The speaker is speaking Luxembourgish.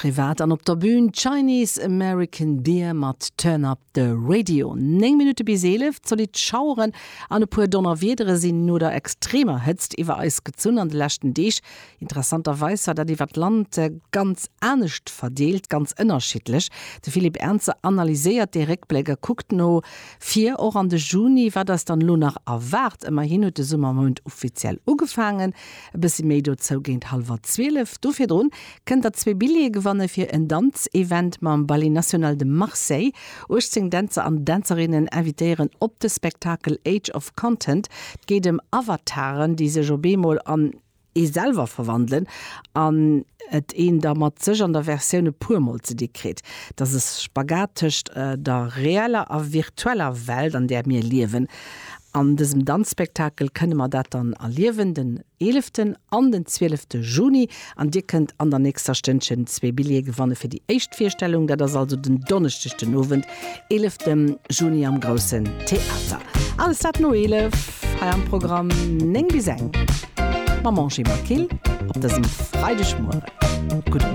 Privat an op der Bühn, Chinese American Beer mat Turn Up The Radio. 9 Minutte bis 11, Zolidd Schaueren an e puer Donnerwiedere sinn no der extremer Hëtzt iwwer eis gezunn an de leschten Deeg. Interessanterweis war dat iwwer d'Land ganz anescht verdeelt, ganz ënnerschiddlech. De Philippe Ernzer analyséiert dee Réckbléck a kuckt no vir, och an de Juni, wat eis dann elo nach erwaart. Ëmmerhin huet de Summermount offiziell ugefaangen. E bëssi méi dozou géint hallwer 12. Do virdrun kënnt der zwee Billjeeë gewanne fir en Danzevent mam Ballet National de Marseille. 18 Dänzer an Dänzerinnen invitéieren op de Spektakel Age of Content. Et geet ëm Avataren, déi sech op eemol an ee selwer verwandelen an et een da mat sech an der Versioun e puer mol ze di kritt. Et ass e Spagat tëscht der reeller a virtueller Welt, an där mir liewen. An dësem Danzspektakel kënne mer dat dann erliewen, den eeleften an den zwielefte Juni. An dir kënnt an der nächster Stënnchen zwee Billjeeë gewanne fir déi éischt Virstellung. Dat ass also den Donneschdeg den Owend, eelefte Juni am Groussen Theater. Alles dat no 11 hei am Programm 9 bis eng mam Angie Maquil op dësem Freidegmueren. Gudde Mueren.